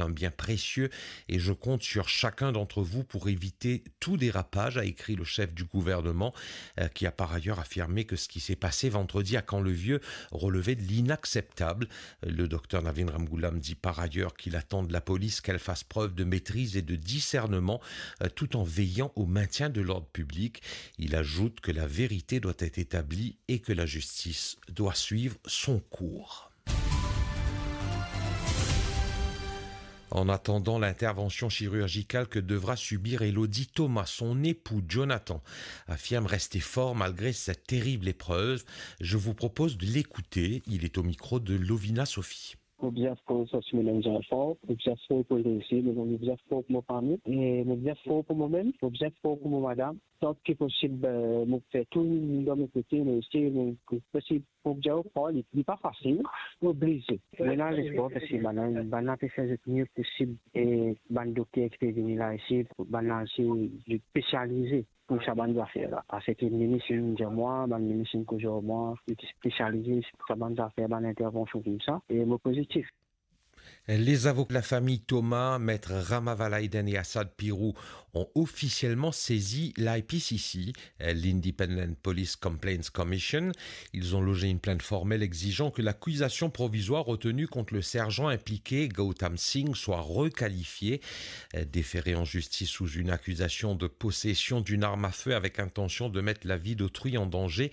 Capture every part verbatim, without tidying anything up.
un bien précieux et je compte sur chacun d'entre vous pour éviter tout dérapage, a écrit le chef du gouvernement, euh, qui a par ailleurs affirmé que ce qui s'est passé vendredi à Camp-le-Vieux relevait de l'inacceptable. Le docteur Navin Ramgoolam dit par ailleurs qu'il attend de la police qu'elle fasse preuve de maîtrise et de discernement, euh, tout en veillant au maintien de l'ordre public. Il ajoute que la vérité doit être établie et que la justice doit suivre son cours. En attendant l'intervention chirurgicale que devra subir Elodie Thomas, son époux Jonathan affirme rester fort malgré cette terrible épreuve. Je vous propose de l'écouter. Il est au micro de Lovina Sophie. Mo bizin fer sa si mo enn zanfan, mo bizin fer pou reisi, mo bizin fer pou mo fami, e mo bizin fer pou momem, mo bizin fer pou mo madam. Tan ki posib, eh, mo fer tou dan mo kote, mo esey, mo, ki posib pou bizin fer li, li pa fasil, mo oblize. Mo ena lespwar parski bann, bann la pe fer zot mie posib, e bann dokter ki pe vini la isi, bann la isi, zot spesialize pou sa bann zafer la. Parski minis inn dir mwa, bann minis inn koz ar mwa, li ti spesialize sa bann zafer, bann intervansion koumsa, e mo pozitif. Les avocats de la famille Thomas, maître Rama Valaiden et Asad Pirou, ont officiellement saisi l'I P C C, l'Independent Police Complaints Commission. Ils ont logé une plainte formelle exigeant que l'accusation provisoire retenue contre le sergent impliqué, Gautam Singh, soit requalifiée. Déféré en justice sous une accusation de possession d'une arme à feu avec intention de mettre la vie d'autrui en danger,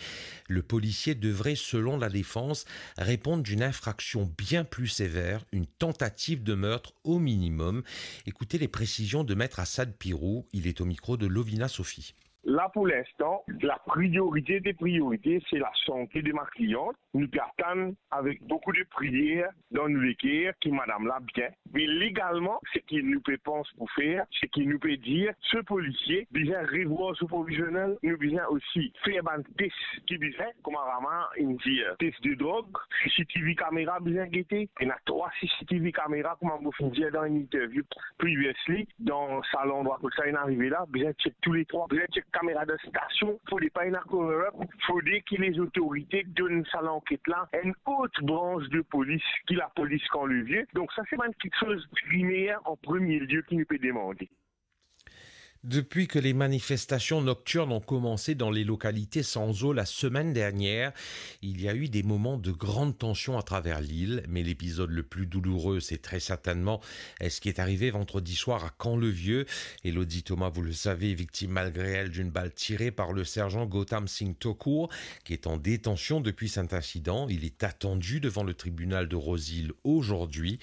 le policier devrait, selon la défense, répondre d'une infraction bien plus sévère, une tentative de meurtre au minimum. Écoutez les précisions de maître Asad Pirou, il est au micro de Lovina Sophie. La, pour l'instant, la priorité des priorités, c'est la santé de ma cliente. Nou pe atann avek boukou de priyer dan nou leker ki madam la bien. Me legalman, seki nou pe pans pou fer, seki nou pe dir, se polisie bizin revwar so provizionel, nou bizin osi fer bann tes ki bizin, kouma Rama inn dir, tes de drog, C C T V kamera bizin gete, ena trwa C C T V kamera, kouma mo finn dir dan enn interview previously, dan sa landrwa kot sa inn arive la, bizin check tou le trwa, bizin check kamera dan stasion, fode pa ena cover up, fode ki lezotorite donn sa lanket la enn lot brans de polis ki lapolis Kan Levie. Donk sa se bann kiksoz primer an premie lie ki nou pe demande. Depuis que les manifestations nocturnes ont commencé dans les localités sans eau la semaine dernière, il y a eu des moments de grande tension à travers l'île, mais l'épisode le plus douloureux, c'est très certainement ce qui est arrivé vendredi soir à Camp-le-Vieux. Elodie Thomas, vous le savez, est victime malgré elle d'une balle tirée par le sergent Gautam Singh Thakur, qui est en détention depuis cet incident. Il est attendu devant le tribunal de Rose-Hill aujourd'hui.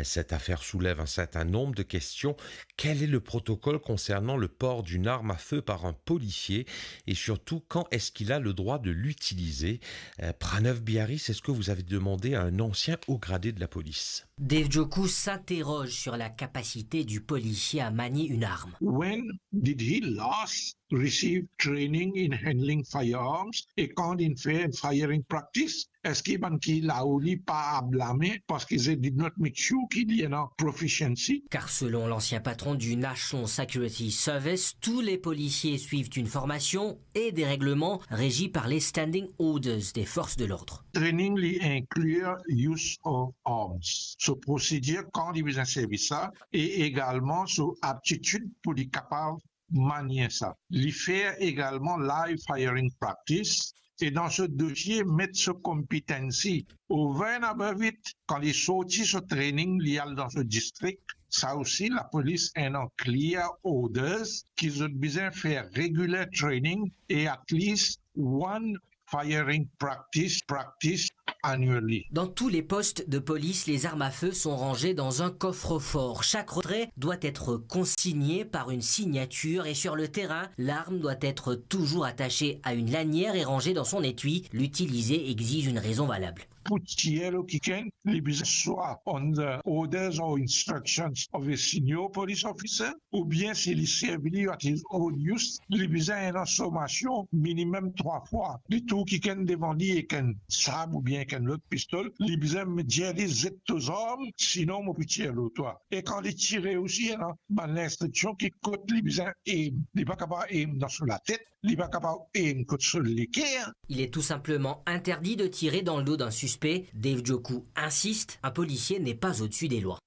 Cette affaire soulève un certain nombre de questions. Quel est le protocole concernant le port d'une arme à feu par un policier et surtout, quand est-ce qu'il a le droit de l'utiliser ? Euh, Pranav Biaris, est-ce que vous avez demandé à un ancien haut gradé de la police ? Dave Joku s'interroge sur la capacité du policier à manier une arme. When did he last receive training in handling firearms? E kan li fer firing practice, eski bann ki lao li pa a blame, parski they did not make sure ki li ena proficiency? Car selon l'ancien patron du National Security Service, tous les policiers suivent une formation et des règlements régis par les standing orders des forces de l'ordre. Training li inclut use of arms. So procedure kan li bizin servi sa, e egalman so aptitid pou li kapav manie sa. Li fer egalman live firing practice, e dan so dosie met so competency. Over and above it, kan li sorti so training, li al dan so distrik, sa osi lapolis ena clear orders ki zot bizin fer regular training e at least one firing practice, practice annually. Dans tous les postes de police, les armes à feu sont rangées dans un coffre-fort. Chaque retrait doit être consigné par une signature et sur le terrain, l'arme doit être toujours attachée à une lanière et rangée dans son étui. L'utiliser exige une raison valable. Pou tir lor kikenn, li bizin swa under orders or instructions of a senior police officer, oubien si li servi li at his own use, li bizin ena formasion minimem trwa fwa. Li trouv kikenn devan li ek enn sab oubien ek enn lot pistol, li bizin dir li, zet to zarm, sinon mo pou tir lor twa. E kan li tire osi, ena bann linstriksion ki kot li bizin aim. Li pa kapav aim dan so latet, li pa kapav aim kot so leker. Il est tout simplement interdit de tirer dans le dos d'un suspect. Dave Joku insiste, un policier n'est pas au-dessus des lois.